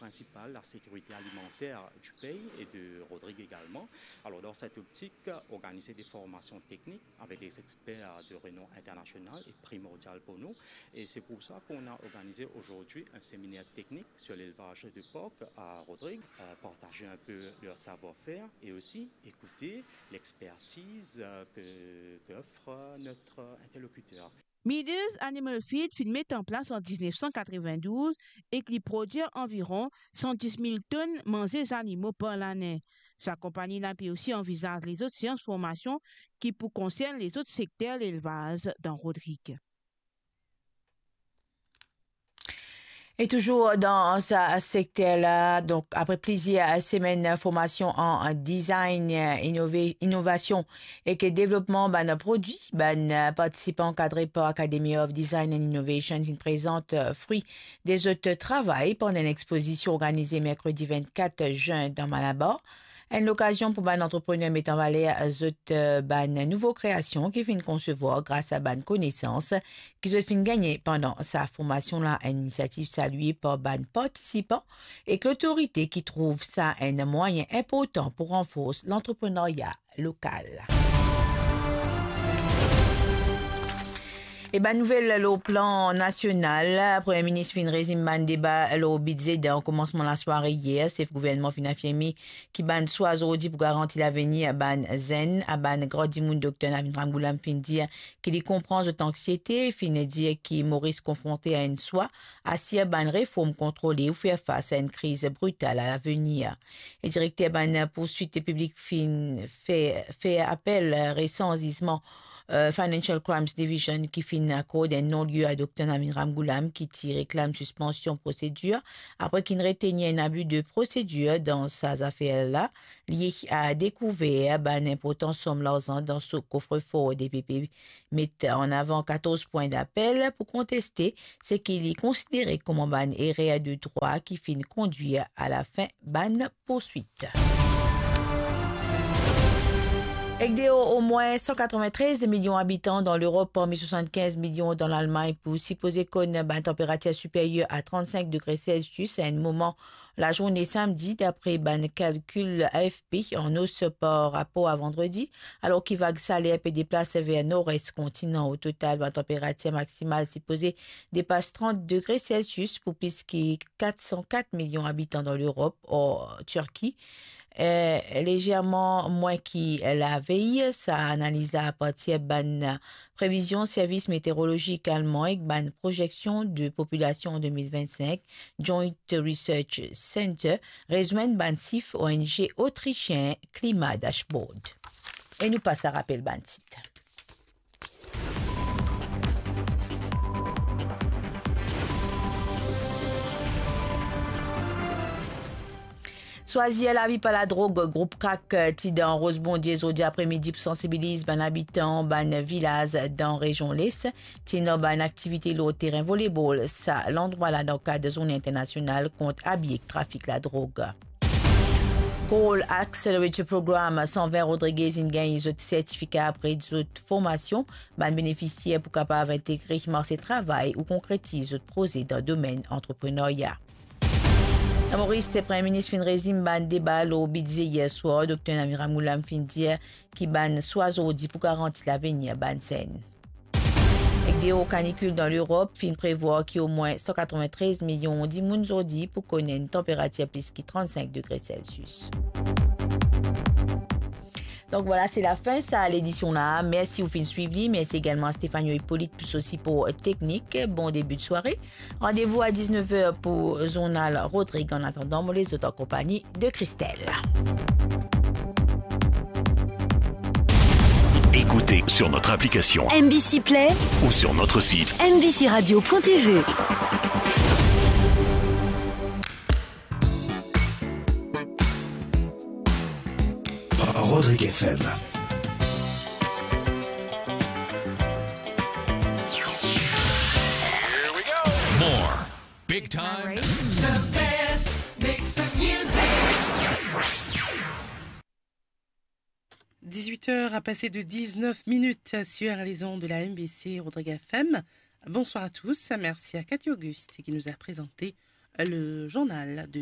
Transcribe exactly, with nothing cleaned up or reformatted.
principal, la sécurité alimentaire du pays et de Rodrigue également. Alors, dans cette optique, organiser des formations techniques avec des experts de renom international est primordial pour nous. Et c'est pour ça qu'on a organisé aujourd'hui un séminaire technique sur l'élevage de porc à Rodrigue, euh, partager un peu leur savoir-faire et aussi écouter l'expertise, euh, que, qu'offre notre interlocuteur. Meaders Animal Feed finn met an plas an diznef san katrevendouz ek li prodwir anviron san dis mil tonn manze zanimo par lane. Sa konpagni la pe osi anvizaz lezot seans formasion ki pou konsern lezot sekter lelvaz dan Rodrigue. E touzour dan sa sekter la, donk apre plizier semenn formasion an design, inove-, inovasion ek devlopman bann prodwi, bann partisipan ankadre par Academy of Design and Innovation finn prezant fri de zot travay pandan enn expozision organize merkredi vennkat zin dan Malabar. Enn lokazion pou bann antreprener met an valer zot, eh, bann nouvo kreasion ki finn konsevwar gras a bann konesans ki zot finn gagne pandan sa formasion la. Enn inisiativ salie par bann partisipan ek lotorite ki trouv sa enn mwayin inportan pou ranfors lantreprenarya lokal. E bann nouvel lor plan nasional, Premie Minis finn rezim bann deba lor bidze dan komansman lasware yer. Sef gouvernman finn afirme ki bann swa zordi pou garanti lavenir bann zenn. A bann gran dimoun, Dokter Navin Ramgoolam finn dir ki li konpran zot anksiete, finn dir ki Moris konfronte a enn swa asir bann reform kontrole ou fer fas a enn kriz brital a lavenir. E direkter bann pourswit piblik finn fer, fer apel resan zizman, eh, Financial Crimes Division ki finn akord enn non-lie a Dokter Navin Ramgoolam ki ti reklam sispansion prosedir apre ki'nn retenir enn abi de prosedir dan sa zafer la. Li a dekouver bann inportan som larzan dan so kofrefor. DPP met an avan katorz pwin dapel pou konteste seki li konsidere kouma bann erer de drwa ki finn kondwir a lafin bann pourswit. Ek deor omwin san katrevintrez milion abitan dan Lerop, parmi swasannkinz milion dan Lalmagn, pou sipoze konn bann tanperatir siperyer a trannsink degre Celsius a enn moman lazourne samdi, dapre bann kalkil A F P, an os par rapor a vandredi, alor ki vag saler pe deplas ver nor-es kontinan. O total, bann tanperatir maksimal sipoze depas trant degre Celsius pou plis ki kat san kat milion abitan dan Lerop, or Tirki, eh, lezerman mwin ki lavey. Sa analiz la apartir bann previzion Servis Meteorolozik Alman ek bann prozeksion de populasion an de mil vennsink, Joint Research Center, rezwenn bann sif O N G otrisien Klima Dashboard. E nou pas a rapel bann tit. Swazir lavi pa ladrog, group Krak, eh, ti dan Rosbondie zordi apremidi pou sansibiliz bann abitan bann vilaz dan rezion Les. Ti ena bann aktivite lor terin volebol sa landrwa la dan kad zourne internasional kont abi ek trafik ladrog. Coal Accelerator Program, san vin Rodriguez inn gagn zot sertifika apre zot formasion. Bann benefisier pou kapav integre marse travay ou konkretiz zot proze dan domenn antreprenarya. Dan Moris, Premie Minis finn rezim bann deba lor bidze yer swar. Dokter Navin Ramgoolam finn dir ki bann swa zordi pou garanti lavenir bann zenn. Ek deor kanikil dan Lerop, finn prevwar ki omwin san katrevintrez milion dimoun zordi pou konn enn tanperatir plis ki trannsink degre Celsius. Donk vwala, se lafin sa ledision la. Mersi ou finn swiv li. Mersi egalman a Stefano Hippolyte pou so sipor teknik. Bon debi de sware. Randevou a diznef er pou zournal Rodrig. An atandan, mo les zot an konpagni de Christelle. Écoutez sur notre application M B C Play ou sur notre site M B C radio point T V. Rodrigue F M. More big time. The best mix of music. Dix-huit heures à passer de dix-neuf minutes sur les ondes de la M B C Rodrigue F M. Bonsoir à tous. Merci à Cathy Auguste qui nous a présenté le journal de